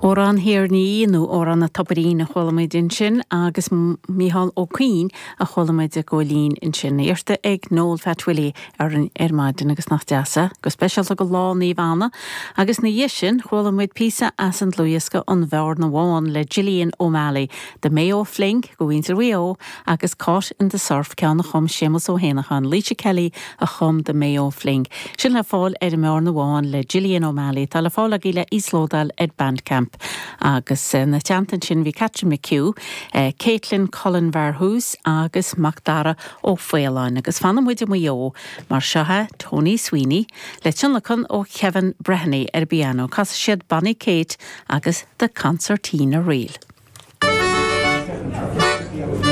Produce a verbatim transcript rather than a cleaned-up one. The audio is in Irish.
Amhrán Thír an Fhia nó Amhrán an Tobairín a chuala muid ansin agus Mícheál Ó Cuinn a chuala muid ag gabháil fhoinn ansin iarrta ag Noel Phat Willie ar an ar maidin agus nach deas é, go speisialta go Lá Naomh Anna, agus ina dhiaidh sin chuala muid píosa as an dlúthdhiosca An Bhearna Bhán le Gillian O'Malley, The Mayo Fling go mhuintir Mhaigh Eo agus Caught in the Surf ceann a chum Séamus Ó hÉanacháin, Laoise Kelly a chum The Mayo Fling. Sin le fáil ar an mBearna Bhán le Gillian O'Malley tá le fáil agaibh le íoslódáil ar Bandcamp. agus eh, na teannta sin bhí Catherine McHugh, eh, Caitlin Cullen Varhús agus Macdara Ó Faoláin agus fanfaidh muid i Maigh Eo mar seo é Tony Sweeney le tionlacan ó Kevin Breheny ar piano, casfaidh siad Bonnie Kate agus The Concertina Reel.